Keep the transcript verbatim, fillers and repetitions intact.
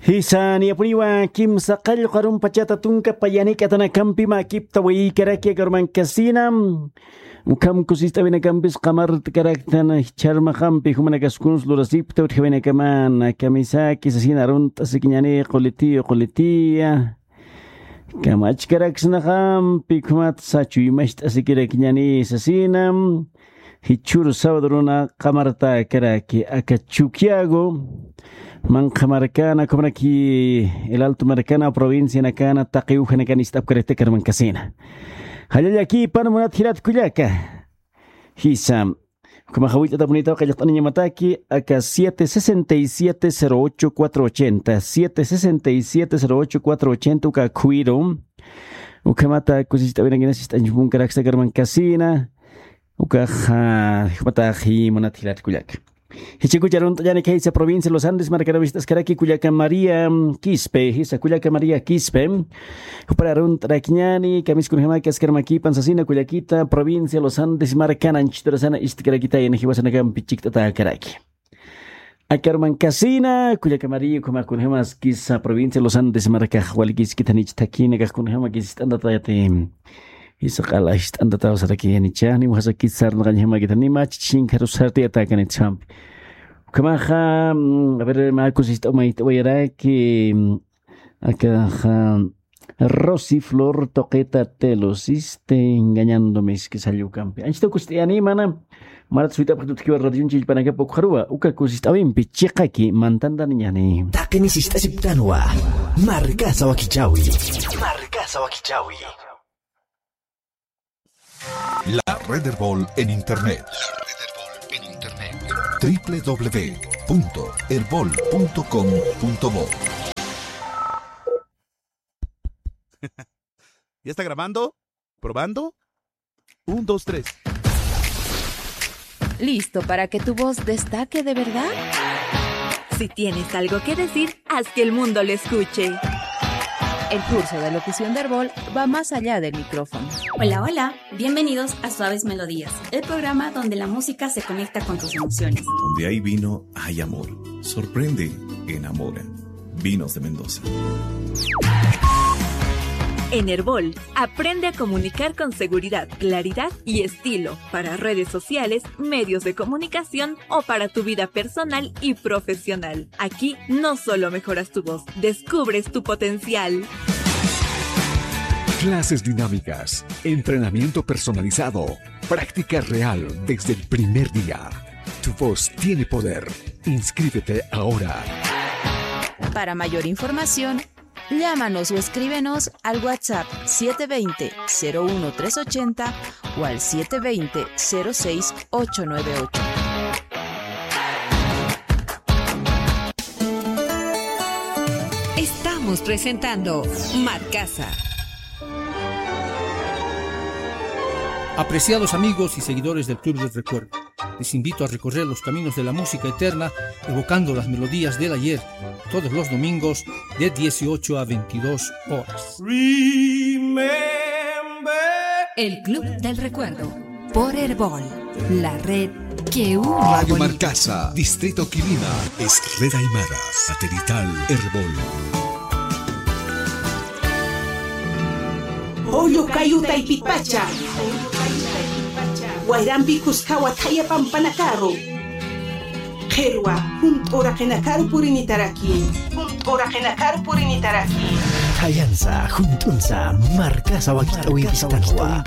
Jisa, niyapuniwa kimsa qallqu arumpachata tunka payanik'atanakampi makipta waykaraki aka urmankasina. Ukham kusist'awinakampis qamartkaraktan jichharmaxampi jumanakaskuns lurasipta utjawinakamana kamisaki sasina arunt'asikiñani qulitiyu qulitiya. Kamachkaraksnaxampi ukhamatsa chuymacht'asikirakiñani sasina. Jichhür sabaduruna qamartakaraki aka Chukiyago, manqha markana, ukhamaraki El Alto markana, provincianakana, taqi ujanakana ist'apkarakta aka urmankasina. Jallallakipan munat jilat kullaka. Jisa. Ukhamaxa willt'atapunitaw qallqt'aniñamataki, aka siete sesenta y siete cero ocho cuatro ochenta, siete sesenta y siete cero ocho cuatro ochenta uka khuyru. Ukhamata kusist'awinakinas ist'añpunkaraksa aka urmankasina. Ukaxa, ukhamatäxi munat jilat kullaka. Jichhakucha arunt'añani khaysa provincia Los Andes markana wist'askaraki kullaka María Quispe, jisa kullaka María Quispe. Jupar arunt'arakiñani, kamisas kunjamaki askar makipan sasina kullakita, provincia Los Andes markana anchhiturasana ist'karakitayna jiwasanakampi chikt'atäkaraki. Aka urmankasina, kullaka María, ukhama kunjamas kisa provincia Los Andes markax walikiskithanich thakhinakax kunjama kisist'antatayati. Jisa q'ala ist'antataw sarakiyanicha, nimaxa kisarnaqañjamakitha, nima chichinkarus sartiyatakanit sampi. Ukhamaxa, mm, a ver, mä kusist'aw mayt'awayaraki, mm, akaxa, Rosy Flor Toqueta Telo, siste engañándome, es que salió campe. Anchita kust'ayani mana, marat suyt'apxi tutkiwa radion chillpanakapa ukxaruwa, uka kusist'awimpi chiqaki mantantaniñani. Taqini sist'asiptanwa, markasa wakichawi. Markasa wakichawi. La Red Erbol en Internet. La Red Erbol en Internet. W W W punto erbol punto com punto bo. ¿Ya está grabando? ¿Probando? Un, dos, tres. ¿Listo para que tu voz destaque de verdad? Si tienes algo que decir, haz que el mundo lo escuche. El curso de locución de Erbol va más allá del micrófono. Hola, hola. Bienvenidos a Suaves Melodías, el programa donde la música se conecta con tus emociones. Donde hay vino, hay amor. Sorprende, enamora. Vinos de Mendoza. En Erbol, aprende a comunicar con seguridad, claridad y estilo para redes sociales, medios de comunicación o para tu vida personal y profesional. Aquí no solo mejoras tu voz, descubres tu potencial. Clases dinámicas, entrenamiento personalizado, práctica real desde el primer día. Tu voz tiene poder. Inscríbete ahora. Para mayor información, llámanos o escríbenos al WhatsApp siete veinte, cero uno tres ochenta o al siete veinte, cero seis ocho nueve ocho. Estamos presentando Marcasa. Apreciados amigos y seguidores del Club del Recuerdo, les invito a recorrer los caminos de la música eterna, evocando las melodías del ayer, todos los domingos de dieciocho a veintidós horas. Remember. El Club del Recuerdo, por Erbol, la red que une. Radio Bolivia. Marcasa, Distrito Quilima, es red aymara, satelital Erbol. Jullu kayu taypipacha. Wayrampi kuskawa thaya pampanakaru. Qhirwa, junt'u uraqinakaru purinitaraki. Junt'u uraqinakaru purinitaraki. Thayansa, junt'unsa, Marcasa wakich'awimpistanwa.